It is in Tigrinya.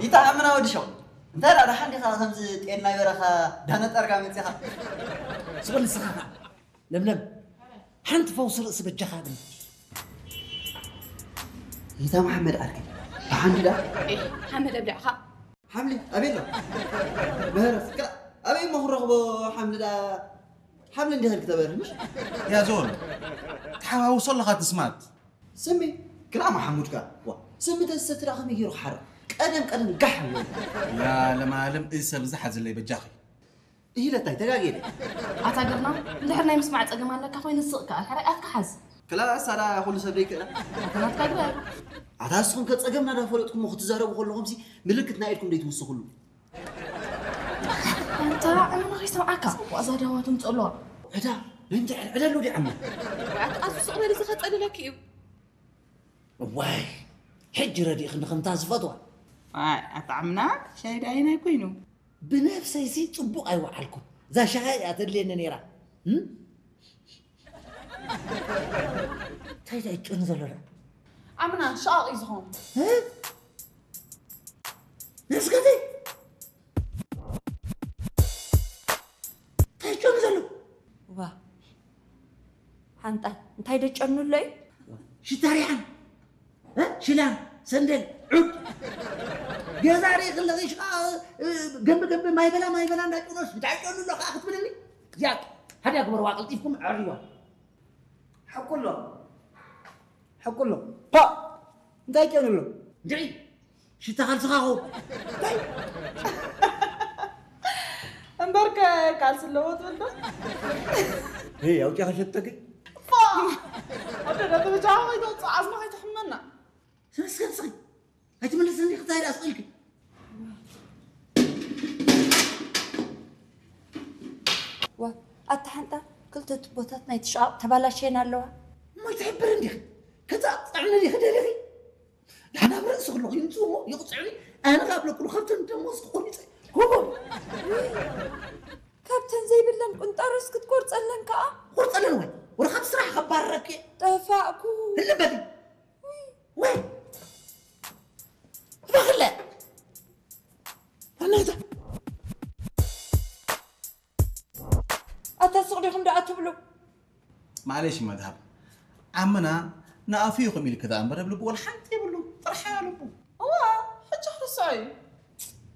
ይጠዓምና ወዲ ሸው። እንታይ ደኣ ደሓን ዲኻ ከምዚ ጤል ናይ በረኻ ዳነጠርካ መጺኻ? ስቕ ንስኻ ኸዓ። ለምለም፣ ሓንቲ ፈውሲ ርእሲ በጃኻ ግን። ይታ መሓመድ ዓርከይ፣ ብሓንዲ ደኣ? ኤህ፣ ሓመድ ኣብሊዕኻ። ሓምሊ ኣበይ ኣሎ? ምህረት፣ ክላ-፣ ኣበይ እሞ ክንረኽቦ ሓምሊ ደኣ? ሓምሊ እንዲህ ኢልክ ተበርህ፣ ምሽ? ያ ዞን፣ ትሓዋውሶ ኣለኻ ትስማት። ስሚ፣ ክላ መሓሙድ ከኣ። ዋ፣ ስሚ ተዝሰቲ ደኣ ከመይ ገይሩ ክሓርቕ? ቀደም ቀደም ጋሕ ይብል። ያ ለማለም፣ እዚ ሰብ እዚ ሓዝለይ በጃኺ። ኢለታይ ተጋጌለ። ኣታ ግርማ፣ እንድሕር ናይ ምስማዕ ጸገም ኣለካ ኮይኑ ስቕ ከኣ፣ ሕራይ ኣፍካ ሓዝ። ክላ ሳላ ኩሉ ሰብ ደይክእላ። ኣታ ናትካ ግበር። ኣታ ንስኹም ከ ጸገምና ዳ ፈለጥኩሞ ክትዛረቡ ከለኹምሲ ምልክት ናይ ኢድኩም ደይትውስኹሉ። ኣንታ፣ ኣነ ንኸይሰምዓካ፣ ዋዛ ዳዋ ትምጽእ ኣለዋ። ዕዳ፣ ናይ ምንታይ ዕዳ ኣሎ ዲዓሞ? ወይ ኣታ፣ ኣሱ ስቕ በል፣ እዚ ከጸልለኪ እዩ። እዋይ፣ ሕጂ ረዲእኽኒ ከምታ ዝፈትዋ። ኣይ፣ ኣታ ዓምና፣ ሻሂ ደኣ ኣየናይ ኮይኑ? ብነብሰይሲ ጽቡቕ ኣይወዓልኩን። እዛ ሻሂ እያ ተድልየኒ ነይራ። እም? እንታይ እንታይ ይጭኑ ዘሎ ደኣ? ዓምና፣ ሻቕ እዩ ዝኾን። እ? ነስከተይ? እንታይ ይጨኑ ዘሎ? ዋ፣ ሓንጣ፣ እንታይ ደጨኑ ኣሎ እዩ? ሽታ ሪሓን፣ እ? ሽላን፣ ሰንደል፣ ዑድ። ገዛ ርኢ ክለኺ ሽቃ፣ እ፣ ገምቢ ገምቢ፣ ማይ በላ፣ ማይ በላ እንዳጨኖስ፣ እንታይ ጨኑ ኣሎ ከዓ ክትብልኒ? እዚኣ፣ ሓደ ግበርዋ፣ ቀልጢፍኩም ኣዕርይዋ። ሕኩሎ፣ ሕኩሎ። ፓ! እንታይ ጨኑ ኣሎ? እንድዒ፣ ሽታ ካልስኻ ኸው። እንታይ? እምበርከ ካልሲ ኣለዎ ትብል ዶ? ሄይ፣ ኣውጺኻ ሸተኪ? ፋ! ኣደ ዳ ተበጃኻ ከይተውፅእ ዓዝማ ከይትሕመና። ስለ ስለ ስለ። ኣይትመልስኒ፣ ክታይ ደኣ ስቕ ኢልኪ? ዋ፣ ኣታ ሓንጣ፣ ክልተ ቱቦታት ናይቲ ሸቓቕ ተባላሽየን ኣለዋ። እሞ ኣይትሕብር እንዲኺ? ከዛ ጥዕኒ ዲኺ ደሊኺ? ደሓን ኣብ ርእሲ ከለኹ ይምፅኡ እሞ ይቕፅዑኒ። ኣነ ካብ ለኩሉ ካብተን ደሞዝ ክቆሪፀ። ጎቦ! ካብተን ዘይብለን ቁንጣሮስ ክትቆርፀለን ከዓ? ቆርፀለን ወይ? ወረ ካብ ስራሕ ከባረረኪ። ጠፋእኩ። ህልም በሊ። ወይ! እባክለ! ኣናታ! ኣታ ሱቕ ዲኹም ደኣ ትብሉ? ማዕለሽ መድሃብ። ዓምና ንኣፉ ይኹም ኢልክ ደኣ እምበር፣ ኣብ ልቡ ወላ ሓንቲ የብሉ። ጥርሓ ልቡ። እዋ፣ ሕጂ ክርስዖ እዩ።